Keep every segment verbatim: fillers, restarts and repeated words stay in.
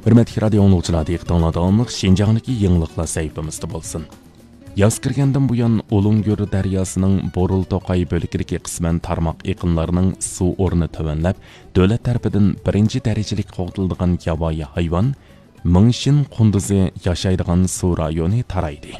ھۆرمەتلىك رادىيو ئاڭلىغۇچىلار، دىققىتىڭلار داۋاملىق شىنجاڭدىكى يېڭىلىقلار سەھىپىمىزدە بولسۇن. ياز كىرگەندىن بۇيان، ئۇلۇڭگۈر دەرياسىنىڭ بۇرۇل توقاي بۆلىكىدىكى قىسمەن تارماق ئېقىنلارنىڭ سۇ ئورنى تۆۋەنلەپ، دۆلەت تەرىپىدىن بىرىنچى دەرىجىلىك قوغدىلىدىغان ياۋايى ھايۋان، مىڭشىن قۇندۇزى ياشايدىغان سۇ رايونى تارايدى.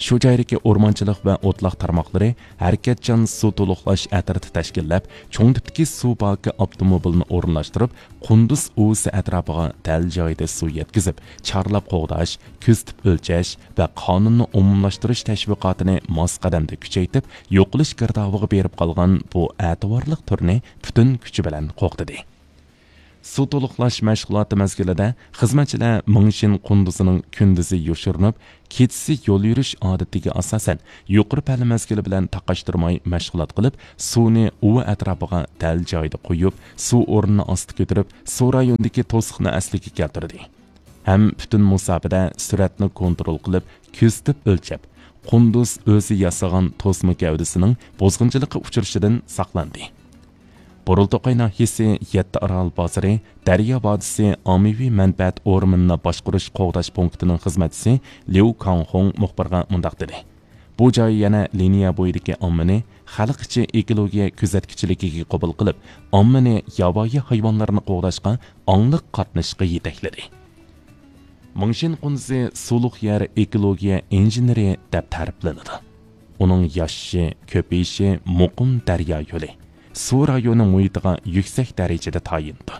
شۇ جايدىكى ئورمانچىلىق ۋە ئوتلاق تارماقلىرى ھەرىكەتچان سۇ تولۇقلاش ئەترىتى تەشكىللەپ، چوڭ تىپتىكى سۇ باكى ئاپتوموبىلىنى ئورۇنلاشتۇرۇپ، قۇندۇز ئۇۋىسى ئەتراپىغا دەل جايىدا سۇ يەتكۈزۈپ، چارلاپ قوغداش، كۆزىتىپ ئۆلچەش ۋە قانۇننى ئومۇملاشتۇرۇش تەشۋىقاتىنى ماس قەدەمدە كۈچەيتىپ، يوقىلىش گىردابىغا بېرىپ قالغان بۇ ئەتىۋارلىق تۈرنى پۈتۈن كۈچى بىلەن قوغدىدى. سۇ تولۇقلاش مەشغۇلاتى مەزگىلىدە خىزمەتچىلەر مىڭشىن قۇندۇزىنىڭ كۈندۈزى يوشۇرۇنۇپ، كېچىسى يول يۈرۈش ئادىتىگە ئاساسەن، يۇقىرى پەللە مەزگىلى بىلەن تاقاشتۇرماي مەشغۇلات قىلىپ، سۇنى ئۇۋا ئەتراپىغا دەل جايىدا قۇيۇپ، سۇ ئورنىنى ئاستا كۆتۈرۈپ، سۇ رايونىدىكى توسۇقنى ئەسلىگە كەلتۈردى. ھەم پۈتۈن مۇساپىدە سۈرئەتنى كونترول قىلىپ، كۆزىتىپ ئۆلچەپ، قۇندۇز ئۆزى ياسىغان توسما گەۋدىسىنىڭ بۇزغۇنچىلىققا ئۇچرىشىدىن ساقلاندى. بۇرۇلتوقاي ناھىيەسى يەتتە ئارال بازىرى دەريا ۋادىسى ئاممىۋى مەنپەئەت ئورمىنىنى باشقۇرۇش قوغداش پونكىتىنىڭ خىزمەتچىسى ليۇ كاڭخۇڭ مۇخبىرغا مۇنداق دېدى: بۇ جاي يەنە لىنىيە بويىدىكى ئاممىنى خەلق ئىچى ئېكولوگىيە كۆزەتكۈچىلىكىگە قوبۇل قىلىپ، ئاممىنى ياۋايى ھايۋانلارنى قوغداشقا ئاڭلىق قاتنىشىشقا يېتەكلىدى. مىڭشىن قۇندۇزى سۇلۇق يەر ئېكولوگىيە ئىنژېنېرى دەپ تەرىپلىنىدۇ. ئۇنىڭ ياشىشى، كۆپىيىشى مۇقىم دەريا يولى، سۇ رايونى مۇھىتىغا يۈكسەك دەرىجىدە تايىنىدۇ.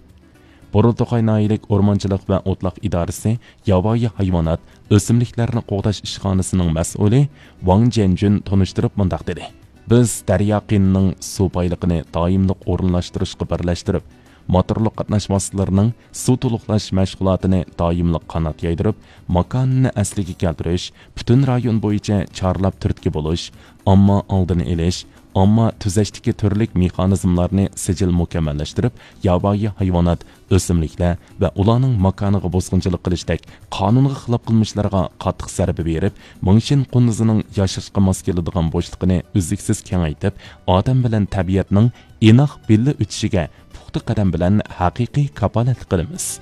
بۇرۇلتوقاي ناھىيەلىك ئورمانچىلىق ۋە ئوتلاق ئىدارىسى ياۋايى ھايۋانات، ئۆسۈملۈكلەرنى قوغداش ئىشخانىسىنىڭ مەسئۇلى ۋاڭ جيەنجۈن تونۇشتۇرۇپ مۇنداق دېدى: بىز دەريا قىيىنىنىڭ سۇ بايلىقىنى دائىملىق ئورۇنلاشتۇرۇشقا بىرلەشتۈرۈپ، موتورلۇق قاتناش ۋاسىتىلىرىنىڭ سۇ تولۇقلاش مەشغۇلاتىنى دائىملىق قانات يايدۇرۇپ، ماكانىنى ئەسلىگە كەلتۈرۈش، پۈتۈن رايون بويىچە چارلاپ تۈرتكە بولۇش، ئامما ئالدىنى ئېلىش، ئامما تۈزەشتىكى تۈرلۈك مېخانىزملارنى سىجىل مۇكەممەللەشتۈرۈپ، ياۋايى ھايۋانات، ئۆسۈملۈكلەر ۋە ئۇلارنىڭ ماكانىغا بوسقۇنچىلىق قىلىشتەك قانۇنغا خىلاپ قىلمىشلارغا قاتتىق زەربە بېرىپ، مىڭشىن قۇندۇزىنىڭ ياشاشقا ماس كېلىدىغان بوشلۇقىنى ئۈزلۈكسىز كېڭەيتىپ، ئادەم بىلەن تەبىئەتنىڭ ئىناق بىللە ئۆتۈشىگە پۇختا قەدەم بىلەن ھەقىقىي كاپالەتلىك قىلىمىز.